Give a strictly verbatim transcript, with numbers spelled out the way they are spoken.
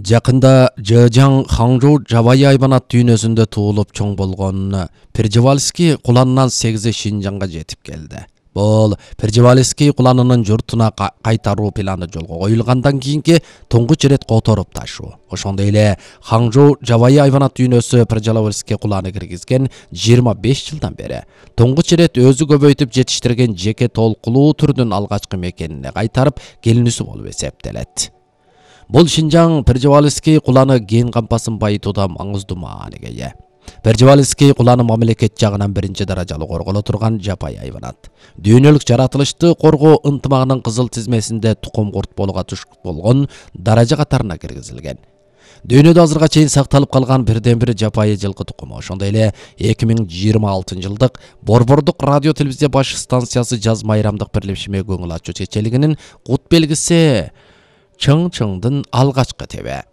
Жакында Жэжяң Хаңжоу Жабайы айбанат дүйнөсүндө туулуп чоң болгон Пржевальский куланынан сегизи Шинжаңга жетип келди. Бул Пржевальский куланынын журтуна кайтаруу планы жолго коюлгандан кийинки туңгуч ирет которуп ташуу. Ошондой эле Хаңжоу Жабайы айбанат дүйнөсү Пржевальский куланы киргизген жыйырма беш жылдан бери туңгуч ирет өзү көбөйтүп жетиштирген жеке толкулуу түрдүн алгачкы мекенине кайтарып келүүсү болуп эсептелет. Бул Шинжаң Пржевальский куланы ген кампасын байытууда маңыздуу мааниге ээ. Пржевальский куланы мамлекет жагынан биринчи даражалуу корголо турган жапайы айбанат. Дүйнөлүк жаратылышты коргоо ынтымагынын кызыл тизмесинде тукум курт болууга туш болгон даража катарына киргизилген. Дүйнөдө азырга чейин сакталып калган бирден бир жапайы жылкы тукуму. Ошондой эле эки миң жыйырма алтынчы жылдык Борбордук радио телевизия баш станциясы жаз майрамдык бирлешме көңүл ачуу чечелигинин кут белгиси чың-чыңдын алгачкы тебе.